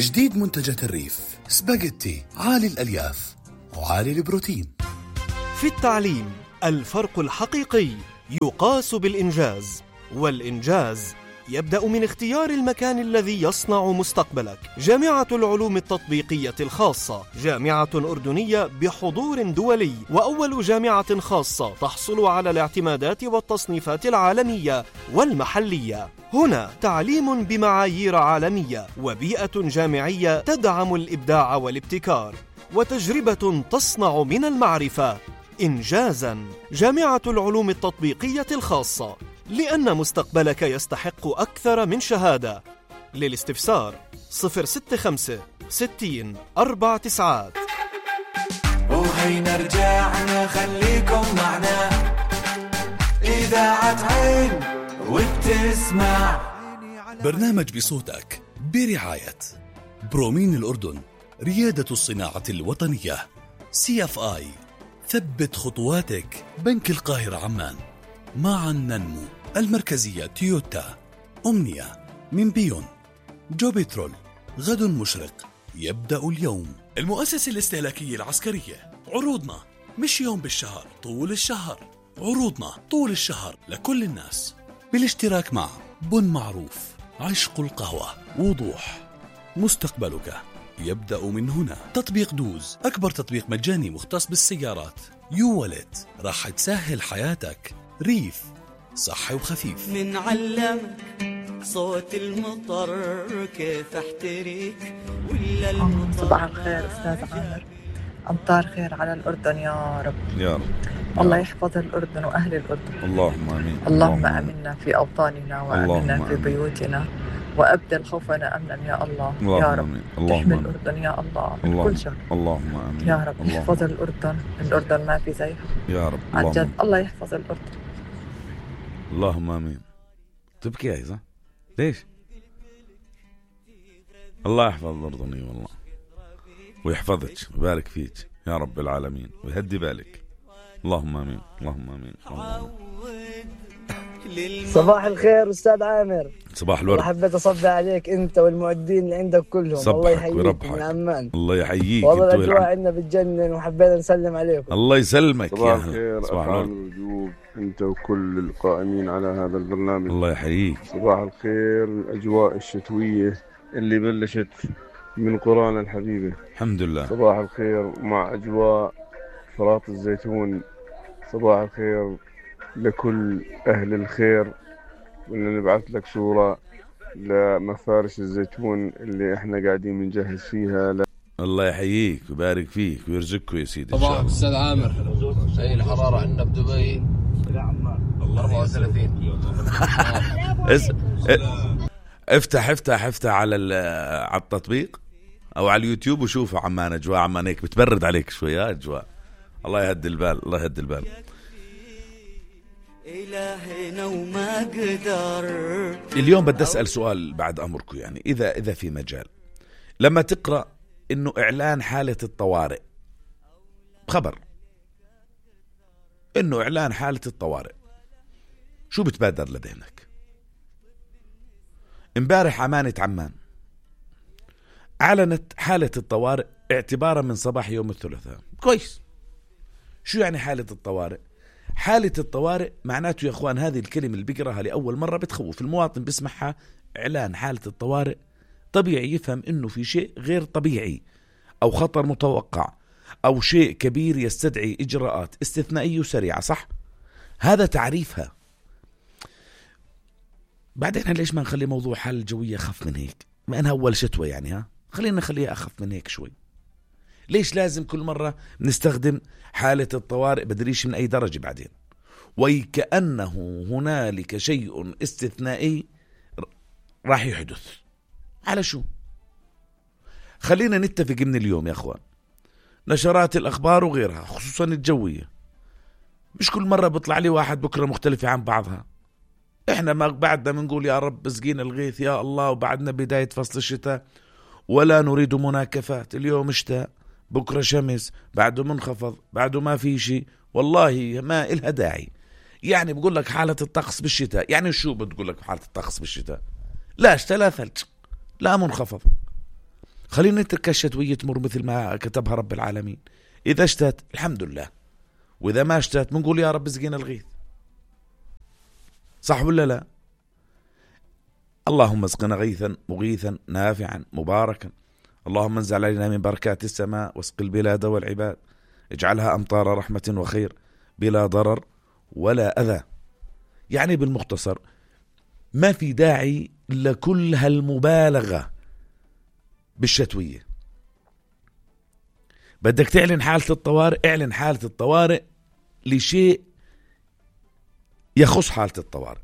جديد منتجات الريف سباغيتي عالي الألياف وعالي البروتين. في التعليم الفرق الحقيقي يقاس بالإنجاز، والإنجاز يبدأ من اختيار المكان الذي يصنع مستقبلك. جامعة العلوم التطبيقية الخاصة جامعة أردنية بحضور دولي، وأول جامعة خاصة تحصل على الاعتمادات والتصنيفات العالمية والمحلية. هنا تعليم بمعايير عالمية، وبيئة جامعية تدعم الإبداع والابتكار، وتجربة تصنع من المعرفة إنجازاً. جامعة العلوم التطبيقية الخاصة، لأن مستقبلك يستحق أكثر من شهادة. للاستفسار 065 60 49. وهينا رجعنا خليكم معنا، إذاعة عين وبتسمع برنامج بصوتك برعاية برومين الأردن، ريادة الصناعة الوطنية. CFI ثبت خطواتك، بنك القاهرة عمان. معا ننمو. المركزية تويوتا. أمنية من بيون. جو بترول، غد مشرق يبدأ اليوم. المؤسسة الاستهلاكية العسكرية، عروضنا مش يوم بالشهر، طول الشهر. عروضنا طول الشهر لكل الناس، بالاشتراك مع بن معروف، عشق القهوة، وضوح. مستقبلك يبدأ من هنا. تطبيق دوز، أكبر تطبيق مجاني مختص بالسيارات. يوالت، راح تسهل حياتك. ريف، صحي وخفيف. منعلمك صوت المطر كيف احتريك ولا المطر. صباح الخير أستاذ عامر، أمطار خير على الأردن يا رب. يا رب. الله يحفظ الأردن وأهل الأردن. اللهم آمين. اللهم آمنا في أوطاننا وآمنا في بيوتنا، وأبدل خوفنا أمنا يا الله. يا رب تحمي الأردن يا الله من كل شر. اللهم آمين يا رب. يحفظ الأردن ما في زيها يا رب. عن جد. الله يحفظ الأردن. اللهم آمين. تبكي يا إذا ليش؟ الله يحفظ الأردني والله، ويحفظك ويبارك فيك يا رب العالمين، ويهدي بالك. اللهم آمين. اللهم آمين. صباح الخير أستاذ عامر. صباح الورد. حبيت أصبح عليك أنت والمعدين اللي عندك كلهم. الله يحييك من عمان. الله يحييك. والله الأجواء عندنا بتجنن، وحبينا نسلم عليكم. الله يسلمك. صباح الخير. صباح الوجوب أنت وكل القائمين على هذا البرنامج. الله يحييك. صباح الخير. الأجواء الشتوية اللي بلشت من قرانا الحبيبة الحمد لله. صباح الخير مع أجواء فرات الزيتون. صباح الخير لكل أهل الخير، بدنا نبعث لك صورة لمفارش الزيتون اللي احنا قاعدين بنجهز فيها. الله يحييك ويبارك فيك ويرزقك يا سيدي. صباح أستاذ عامر. هي الحرارة عندنا بدبي 34. افتح على التطبيق او على اليوتيوب وشوف عمان. اجواء عمان هيك بتبرد عليك شوي يا اجواء. الله يهدي البال. الله يهدي البال. إلهنا وما قدر. اليوم بدي أسأل سؤال بعد أمركم، يعني إذا في مجال لما تقرأ إنه إعلان حالة الطوارئ، خبر إنه إعلان حالة الطوارئ، شو بتبادر لذهنك؟ امبارح أمانة عمان أعلنت حالة الطوارئ اعتبارا من صباح يوم الثلاثاء. كويس. شو يعني حالة الطوارئ؟ حالة الطوارئ معناته يا أخوان، هذه الكلمة اللي بقراها لأول مرة بتخوف المواطن بسمعها. إعلان حالة الطوارئ طبيعي يفهم إنه في شيء غير طبيعي أو خطر متوقع أو شيء كبير يستدعي إجراءات استثنائية وسريعة، صح؟ هذا تعريفها. بعدين ليش ما نخلي موضوع حالة الجوية أخف من هيك؟ ما أنها أول شتوى يعني، خلينا نخليها أخف من هيك شوي. ليش لازم كل مرة نستخدم حالة الطوارئ بدريش من أي درجة بعدين؟ وكأنه هنالك شيء استثنائي راح يحدث. على شو؟ خلينا نتفق من اليوم يا أخوان، نشرات الأخبار وغيرها خصوصا الجوية مش كل مرة بيطلع لي واحد بكرة مختلفة عن بعضها. احنا ما بعدنا بنقول يا رب اسقينا الغيث يا الله، وبعدنا بداية فصل الشتاء ولا نريد مناكفات. اليوم شتاء، بكرة شمس، بعده منخفض، بعده ما في شيء. والله ما إلها داعي. يعني بقول لك حالة الطقس بالشتاء، يعني شو بتقول لك حالة الطقس بالشتاء؟ لا شتاء لا ثلج لا منخفض. خلينا نترك الشتوية تمر مثل ما كتبها رب العالمين. إذا اشتت الحمد لله، وإذا ما اشتت بنقول يا رب اسقينا الغيث. صح ولا لا؟ اللهم اسقنا غيثا مغيثا نافعا مباركا، اللهم انزل علينا من بركات السماء واسق البلاد والعباد، اجعلها أمطار رحمة وخير بلا ضرر ولا أذى. يعني بالمختصر ما في داعي لكل هالمبالغة بالشتوية. بدك تعلن حالة الطوارئ، اعلن حالة الطوارئ لشيء يخص حالة الطوارئ.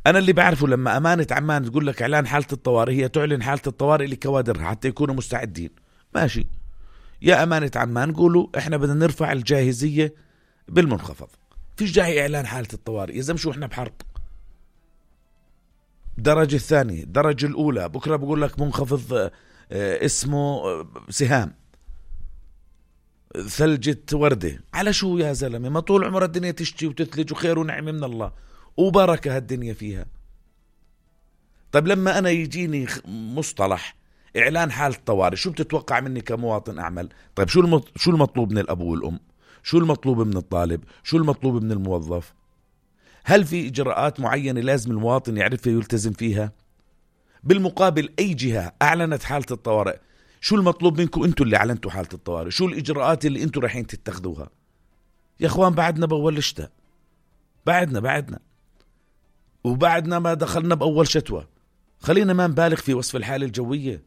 أنا اللي بعرفه لما أمانة عمان تقول لك إعلان حالة الطوارئ، هي تعلن حالة الطوارئ لكوادرها حتى يكونوا مستعدين. ماشي يا أمانة عمان، قولوا إحنا بدنا نرفع الجاهزية بالمنخفض، فيش داعي إعلان حالة الطوارئ. يزم شو إحنا بحرب درجة الثانية درجة الأولى، بكرة بقول لك منخفض اسمه سهام، ثلجة وردة، على شو يا زلمة؟ ما طول عمر الدنيا تشتي وتثلج وخير ونعم من الله وبركة هالدنيا فيها. طيب لما أنا يجيني مصطلح إعلان حالة طوارئ، شو بتتوقع مني كمواطن أعمل؟ طيب شو المطلوب من الأب والأم؟ شو المطلوب من الطالب؟ شو المطلوب من الموظف؟ هل في إجراءات معينة لازم المواطن يعرفها ويلتزم فيها؟ بالمقابل أي جهة أعلنت حالة الطوارئ، شو المطلوب منكم أنتوا اللي أعلنتوا حالة الطوارئ؟ شو الإجراءات اللي أنتوا رايحين تتخذوها؟ يا أخوان بعدنا بأول الشتاء، بعدنا وبعدنا ما دخلنا بأول شتوى. خلينا ما نبالغ في وصف الحالة الجوية،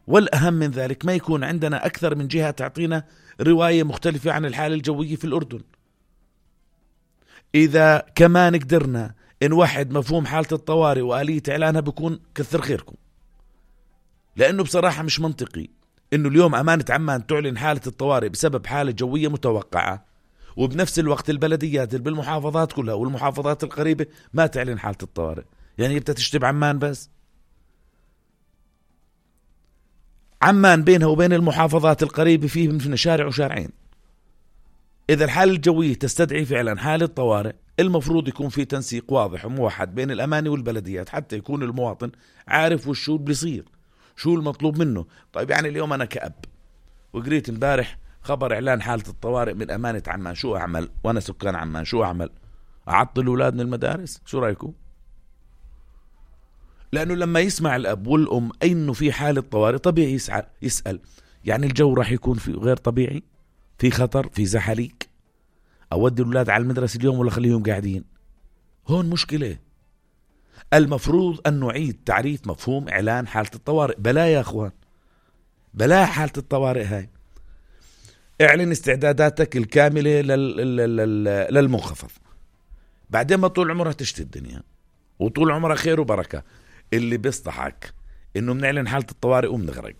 والأهم من ذلك ما يكون عندنا أكثر من جهة تعطينا رواية مختلفة عن الحالة الجوية في الأردن. إذا كمان قدرنا نوحد مفهوم حالة الطوارئ وآلية إعلانها بكون كثر خيركم، لأنه بصراحة مش منطقي إنه اليوم أمانة عمان تعلن حالة الطوارئ بسبب حالة جوية متوقعة، وبنفس الوقت البلديات اللي بالمحافظات كلها والمحافظات القريبة ما تعلن حالة الطوارئ. يعني بدها تشتب عمان بس؟ عمان بينها وبين المحافظات القريبة فيه من شارع وشارعين. إذا الحالة الجوية تستدعي فعلا حالة طوارئ، المفروض يكون في تنسيق واضح وموحد بين الأماني والبلديات حتى يكون المواطن عارف وشو بيصير، شو المطلوب منه. طيب يعني اليوم أنا كأب وقريت امبارح خبر إعلان حالة الطوارئ من أمانة عمان، شو أعمل؟ وأنا سكان عمان شو أعمل؟ أعطل الأولاد من المدارس؟ شو رأيكم؟ لأنه لما يسمع الأب والأم إنه في حالة طوارئ طبيعي يسأل يعني الجو راح يكون في غير طبيعي، في خطر، في زحليق، أودي الأولاد على المدرسة اليوم ولا خليهم قاعدين؟ هون مشكلة. المفروض أن نعيد تعريف مفهوم إعلان حالة الطوارئ. بلا يا أخوان، بلا حالة الطوارئ هاي. اعلن استعداداتك الكاملة للمنخفض، بعدين ما طول عمرها تشتي الدنيا وطول عمرها خير وبركة. اللي بيصطحك إنه بنعلن حالة الطوارئ وبنغرق.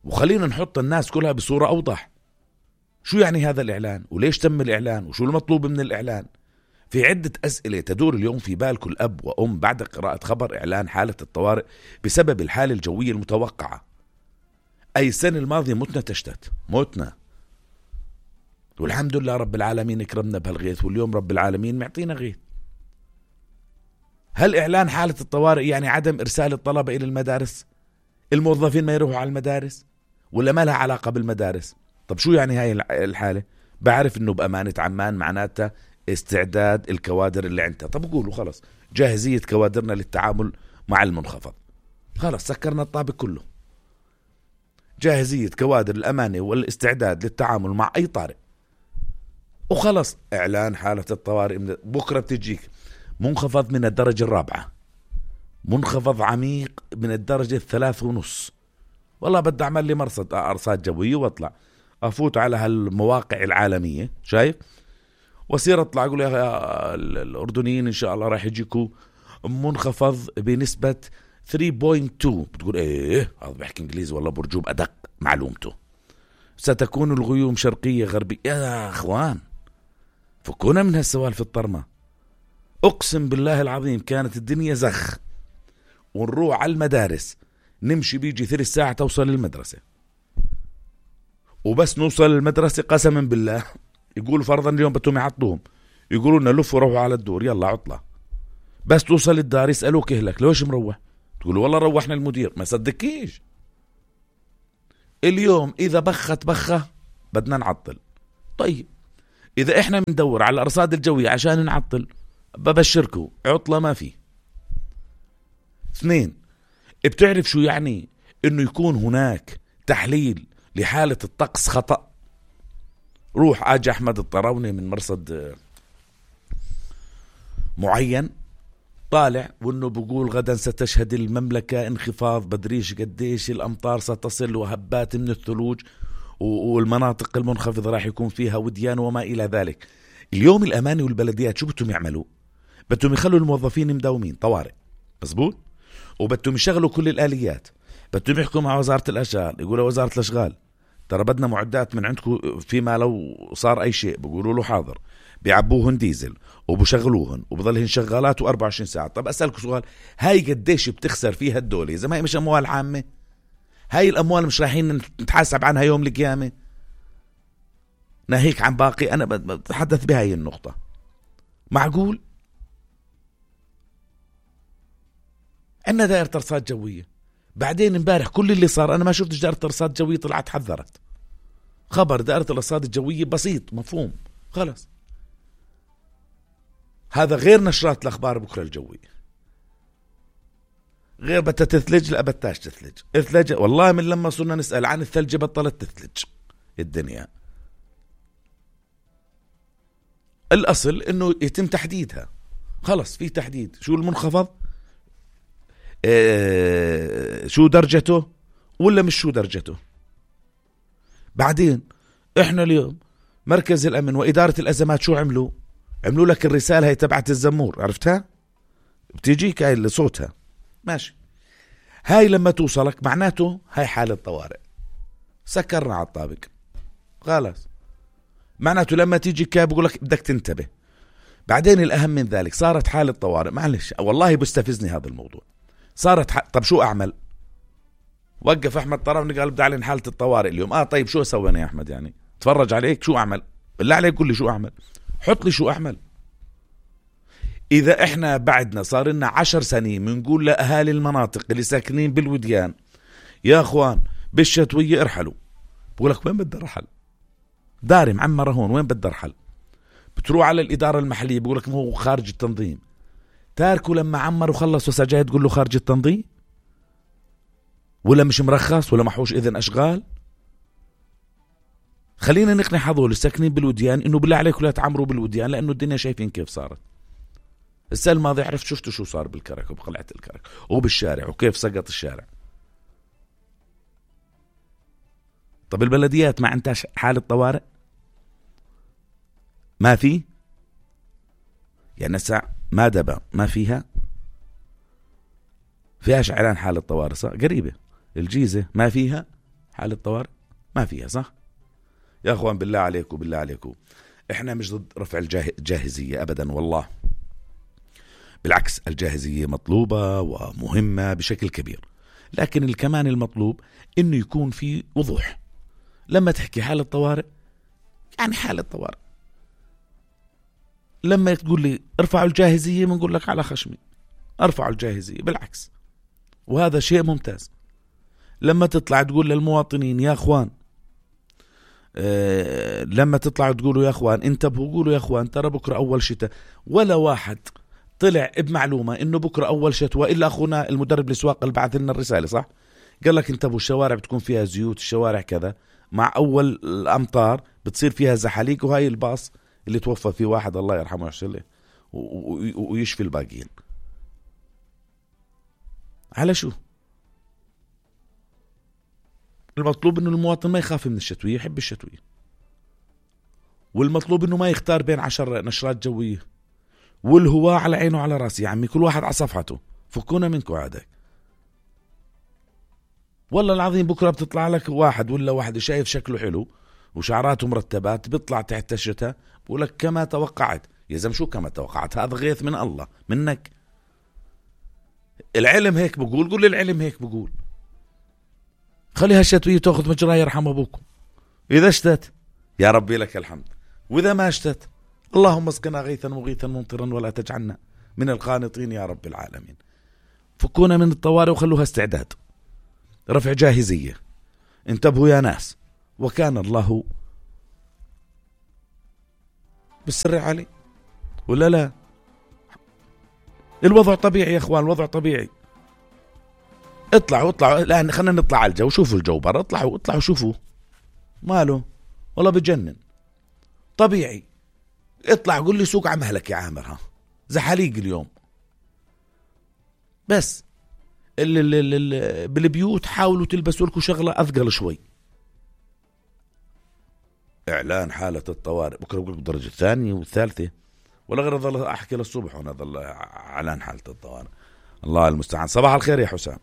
وخلينا نحط الناس كلها بصورة أوضح. شو يعني هذا الإعلان؟ وليش تم الإعلان؟ وشو المطلوب من الإعلان؟ في عدة أسئلة تدور اليوم في بال كل أب وأم بعد قراءة خبر إعلان حالة الطوارئ بسبب الحالة الجوية المتوقعة. أي السنة الماضية متنا تشتت، متنا، والحمد لله رب العالمين اكرمنا بهالغيث، واليوم رب العالمين معطينا غيث. هل إعلان حالة الطوارئ يعني عدم إرسال الطلبة إلى المدارس؟ الموظفين ما يروحوا على المدارس؟ ولا ما لها علاقة بالمدارس؟ طب شو يعني هاي الحالة؟ بعرف إنه بأمانة عمان معناتها استعداد الكوادر اللي عندها. طب قولوا خلص جاهزية كوادرنا للتعامل مع المنخفض، خلص سكرنا الطابق كله. جاهزية كوادر الأمانة والاستعداد للتعامل مع أي طارئ، وخلص إعلان حالة الطوارئ. بكرة بتجيك منخفض من الدرجة 4، منخفض عميق من الدرجة 3.5. والله بدي أعمل لي أرصاد جوية واطلع أفوت على هالمواقع العالمية، شايف، وصير أطلع أقول يا الأردنيين إن شاء الله راح يجيكوا منخفض بنسبة 3.2. بتقول إيه هذا بحكي إنجليزي والله برجوب أدق معلومته. ستكون الغيوم شرقية غربية. يا أخوان فكونا من هالسوالف الطرمة. أقسم بالله العظيم كانت الدنيا زخ، ونروح على المدارس نمشي بيجي 3 ساعة توصل للمدرسة، وبس نوصل للمدرسة قسما بالله يقولوا فرضا اليوم بدهم يعطوهم، يقولوا لنا لفوا روحوا على الدور يلا عطلة. بس توصل الدار يسألوك إهلك ليش مروح؟ تقول والله روحنا المدير، ما صدقكيش. اليوم إذا بخت بخة بدنا نعطل. طيب إذا إحنا بندور على الأرصاد الجوية عشان نعطل، ببشركم عطلة ما فيه. 2، بتعرف شو يعني إنه يكون هناك تحليل لحالة الطقس خطأ؟ روح أجي أحمد الطراوني من مرصد معين طالع وإنه بقول غدا ستشهد المملكة انخفاض بدريش قديش الأمطار ستصل وهبات من الثلوج والمناطق المنخفضة راح يكون فيها وديان وما إلى ذلك. اليوم الأماني والبلديات شو بدهم يعملوا؟ بدهم يخلوا الموظفين مداومين طوارئ، مزبوط، وبدهم يشغلوا كل الآليات، بدهم يحكوا مع وزارة الأشغال، يقولوا وزارة الأشغال ترى بدنا معدات من عندكم فيما لو صار أي شيء، بيقولوا له حاضر، بيعبوهن ديزل وبشغلوهن وبضلهن شغالات 24 ساعة. طب أسألك سؤال، هاي قديش بتخسر فيها الدولة؟ إذا ما هي مش أموال عامة، هاي الأموال مش رايحين نتحاسب عنها يوم القيامة؟ ناهيك عن باقي، أنا بتحدث بهاي النقطة. معقول عندنا دائرة أرصاد جوية، بعدين امبارح كل اللي صار أنا ما شفتش دائرة أرصاد جوية طلعت حذرت. خبر دائرة الأرصاد الجوية بسيط مفهوم خلص. هذا غير نشرات الأخبار بكرة الجوية، غير بدها تثلج، لا بدهاش تثلج. اثلج والله من لما صرنا نسأل عن الثلج بطلت تثلج الدنيا. الأصل إنه يتم تحديدها، خلص في تحديد شو المنخفض، شو درجته ولا مش شو درجته. بعدين احنا اليوم مركز الأمن وإدارة الأزمات شو عملوا لك الرسالة هي تبعت الزمور، عرفتها؟ بتيجيك هاي اللي صوتها ماشي، هاي لما توصلك معناته هاي حالة طوارئ، سكرنا على الطابق خلاص. معناته لما تيجي كاب يقول لك بدك تنتبه. بعدين الأهم من ذلك صارت حالة طوارئ، معلش والله بستفزني هذا الموضوع. صارت طب شو أعمل؟ وقف أحمد طراوني قال بدي أعلن حالة الطوارئ اليوم. طيب شو سوينا يا أحمد؟ يعني تفرج عليك شو أعمل؟ بالله عليك قل لي شو أعمل، حط لي شو أعمل. إذا إحنا بعدنا صار لنا 10 سنين بنقول لأهالي المناطق اللي ساكنين بالوديان يا أخوان بالشتوية ارحلوا، بقول لك وين بدي ارحل؟ داري معمرة هون، وين بدي ارحل؟ بتروح على الإدارة المحلية بقول لك ما هو خارج التنظيم. تاركوا لما عمر وخلص وسجاي تقول له خارج التنظيم ولا مش مرخص ولا محوش إذن أشغال؟ خلينا نقنع هذول الساكنين بالوديان إنه بالله عليكم لا تعمروا بالوديان، لأنه الدنيا شايفين كيف صارت. السنة الماضية عرفت شفتوا شو صار بالكرك وبقلعة الكرك وبالشارع وكيف سقط الشارع. طب البلديات ما عندهاش حالة طوارئ؟ ما في يعني نسع ما دبا ما فيهاش إعلان حالة طوارئ صح؟ قريبة الجيزة ما فيها حالة طوارئ، ما فيها صح؟ يا أخوان بالله عليكم إحنا مش ضد رفع الجاهزية أبدا والله، بالعكس الجاهزية مطلوبة ومهمة بشكل كبير، لكن كمان المطلوب إنه يكون في وضوح. لما تحكي حالة طوارئ يعني حالة طوارئ، لما تقول لي ارفعوا الجاهزية بنقول لك على خشمي ارفعوا الجاهزية، بالعكس وهذا شيء ممتاز. لما تطلع تقول للمواطنين يا أخوان، لما تطلعوا تقولوا يا أخوان انتبهوا، قولوا يا أخوان ترى بكرة أول شتاء، ولا واحد طلع بمعلومة إنه بكرة أول شتوى إلا أخونا المدرب الأسواق اللي بعث لنا الرسالة صح؟ قال لك انتبهوا الشوارع بتكون فيها زيوت، الشوارع كذا، مع أول الأمطار بتصير فيها زحاليق، وهاي الباص اللي توفى فيه واحد الله يرحمه ويحسن له ويشفي الباقيين. على شو؟ المطلوب إنه المواطن ما يخاف من الشتوية، يحب الشتوية، والمطلوب إنه ما يختار بين 10 نشرات جوية، والهواء على عينه وعلى راسي يا عمي، كل واحد على صفحته، فكونا منكم عادك. والله العظيم بكرة بتطلع لك واحد ولا واحد شايف شكله حلو وشعراته مرتبات، بيطلع تحت الشتاء بقول لك كما توقعت. يا زلمة شو كما توقعت؟ هذا غيث من الله منك. العلم هيك بقول، قول العلم هيك بقول، خليها الشتوية تأخذ مجراها يرحم أبوكم. إذا اشتت يا ربي لك الحمد، وإذا ما اشتت اللهم اسقنا غيثا مغيثا ممطرا ولا تجعلنا من القانطين يا رب العالمين. فكونا من الطوارئ وخلوها استعداد، رفع جاهزية. انتبهوا يا ناس، وكان الله بالسر علي ولا لا؟ الوضع طبيعي يا اخوان، الوضع طبيعي. اطلعوا الان، خلينا نطلع على الجو، شوفوا الجو برا، اطلعوا شوفوا ماله، والله بجنن طبيعي. اطلع قول لي سوق عمهلك يا عامر، ها زحاليق اليوم. بس بالبيوت حاولوا تلبسوا لكم شغلة أثقل شوي. إعلان حالة الطوارئ بكرة بقول بالدرجة الثانية والثالثة، ولا غير ظل أحكي للصبح وأنا ظل إعلان حالة الطوارئ. الله المستعان. صباح الخير يا حسام.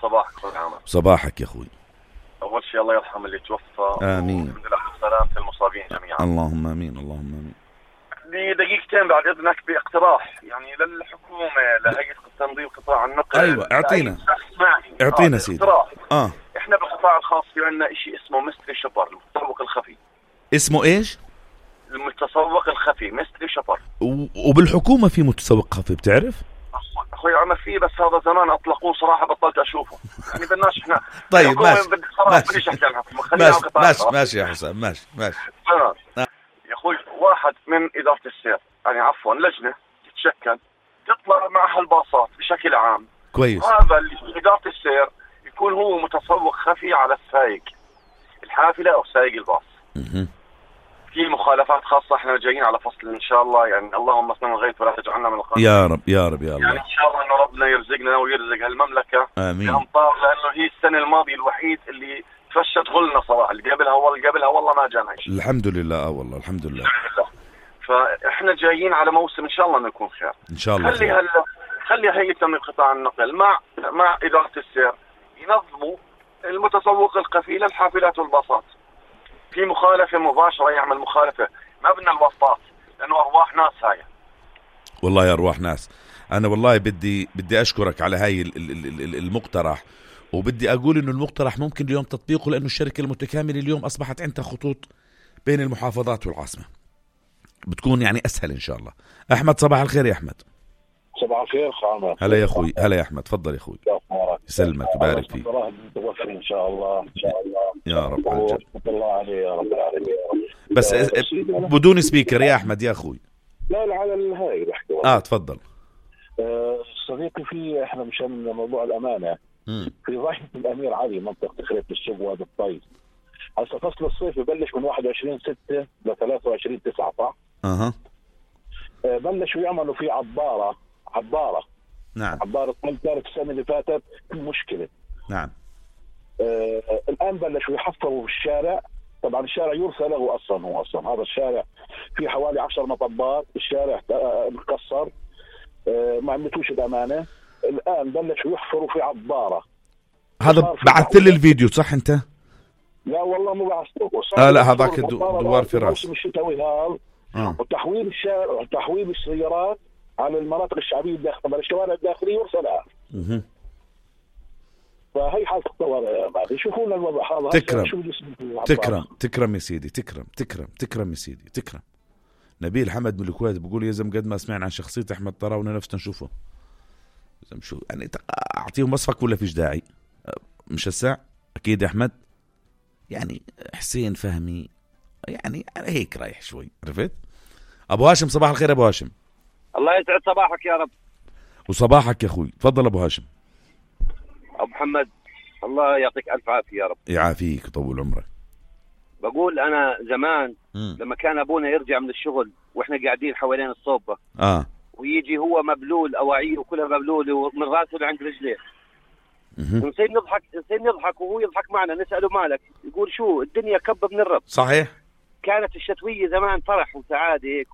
صباحك أخوي عامر. صباحك يا أخوي. أول شيء الله يرحم اللي توفى. آمين. الحمد لله والسلامة المصابين جميعا. اللهم آمين اللهم آمين. لي دقيقتين بعد إذنك باقتراح يعني للحكومة، لهيئة تنظيم قطاع النقل. أيوة اعطينا سيدي. إحنا بالقطاع الخاص في عندنا إشي اسمه ميستري شوبر، المتسوق الخفي. اسمه إيش؟ المتسوق الخفي، ميستري شوبر. وبالحكومة في متسوق خفي بتعرف؟ أخوي عمر فيه، بس هذا زمان أطلقوه صراحة بطلت أشوفه. يعني بدناش إحنا. طيب ماشي يا حسام، ماشي. يا أخوي واحد من إدارة السير، يعني عفوا لجنة تتشكل تطلع مع هالباصات بشكل عام. كويس. هذا اللي إدارة السير يكون هو متسوق خفي على السائق الحافلة أو سائق الباص. في مخالفات خاصة، احنا جايين على فصل ان شاء الله، يعني اللهم اسلم الغيث ولا تجعلنا من القانون. يا رب يا رب يا الله. يعني ان شاء الله انه ربنا يرزقنا ويرزق هالمملكة امين بأمطار، لانه هي السنة الماضية الوحيد اللي فشت غلنا صراحة. اللي قبلها والله ما جانا شيء. الحمد لله. والله الحمد لله. فاحنا جايين على موسم ان شاء الله انه يكون خير. ان شاء الله. خلي هيئة تنظيم قطاع النقل مع إدارة السير ينظموا المتسوق الخفي للحافلات والباصات. في مخالفة مباشرة يعمل مخالفة، ما بدنا الوسطات، لأنه أرواح ناس هاي. والله يا أرواح ناس. أنا والله بدي أشكرك على هاي المقترح، وبدي أقول إنه المقترح ممكن اليوم تطبيقه، لأنه الشركة المتكاملة اليوم أصبحت عندها خطوط بين المحافظات والعاصمة، بتكون يعني أسهل إن شاء الله. أحمد صباح الخير يا أحمد. صباح الخير خامر. هلا يا أخوي. هلا يا أحمد، تفضل يا أخوي. يسلمك ويبارك فيك. إن شاء الله يا رب. الله عليه يا رب العالمين. بس بدون سبيكر يا أحمد يا أخوي. لا على الهاي بحكي. تفضل. صديقي، في احنا مشان موضوع الأمانة في ضاحية الأمير علي منطقة خريط السوق وهذا الطيب. هسه فصل الصيف يبلش من 21/6 ل 23/9 صح؟ بلشوا يعملوا فيه عبارة. نعم. عبارة كانت السنة اللي فاتت مشكلة. نعم. الآن بلشوا يحفروا في الشارع. طبعا الشارع يرثى له أصلا هذا الشارع فيه حوالي 10 مطبات. الشارع مكسر، ما عملتوش الأمانة. الآن بلشوا يحفروا في عبارة. هذا بعثت لي الفيديو صح أنت؟ لا والله مو بعثته. لا هذاك دوار فراش. الشتوي هذا. وتحويل الشارع وتحويل السيارات على المناطق الشعبية الداخلية، الشوارع الداخلية يرسل لها. فهي حالة الطوارئ. بعد يشوفون الوضع هذا. تكرم يا سيدي. تكرم يا سيدي. تكرم. نبيل حمد من الكويت بيقول يا زلمة قد ما سمعنا عن شخصية أحمد طراونة نفسنا نشوفه. شو يعني أعطيهم وصفك ولا فيش داعي؟ مش الساعة أكيد يا أحمد. يعني حسين فهمي يعني هيك رايح شوي، عرفت؟ أبو هاشم صباح الخير. أبو هاشم الله يسعد صباحك يا رب. وصباحك يا أخوي. تفضل أبو هاشم. أبو محمد الله يعطيك ألف عافية يا رب. يعافيك وطول عمرك. بقول أنا زمان لما كان أبونا يرجع من الشغل وإحنا قاعدين حوالين الصوبة ويجي هو مبلول أواعيه وكلها مبلول ومن راسه لعند رجليه، نصير نضحك وهو يضحك معنا. نسأله مالك؟ يقول شو الدنيا كب من الرب. صحيح. كانت الشتوية زمان فرح وسعادة هيك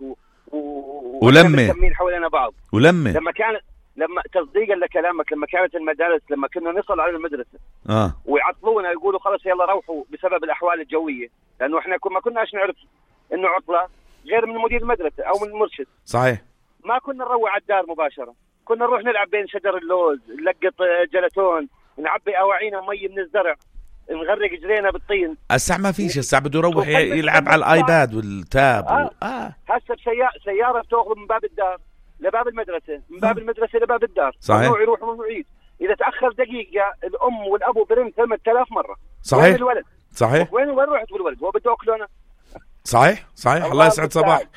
ولمة حوالين بعض. لما تصديقا لكلامك، لما كانت المدارس لما كنا نصل على المدرسة ويعطلونا يقولوا خلاص يلا روحوا بسبب الأحوال الجوية، لأنه إحنا ما كناش نعرف إنه عطلة غير من مدير المدرسة أو من المرشد. صحيح. ما كنا نروح على الدار مباشرة، كنا نروح نلعب بين شجر اللوز، نلقط جلاتون، نعبي أواعينا مي من الزرع، نغرق جرينا بالطين. الساعة ما فيش، الساعة بده يروح يلعب على الآيباد والتاب. هسه سيارة بتأخذ من باب الدار لباب المدرسة، من باب المدرسة لباب الدار، صحيح. ممنوع يروح وممنوع يعيد. إذا تأخر دقيقة الأم والأبو برن 8000 مرة. صحيح. وين الولد؟ صحيح. وين رحت بالولد؟ هو بده أكله أنا. صحيح. الله يسعد صباحك.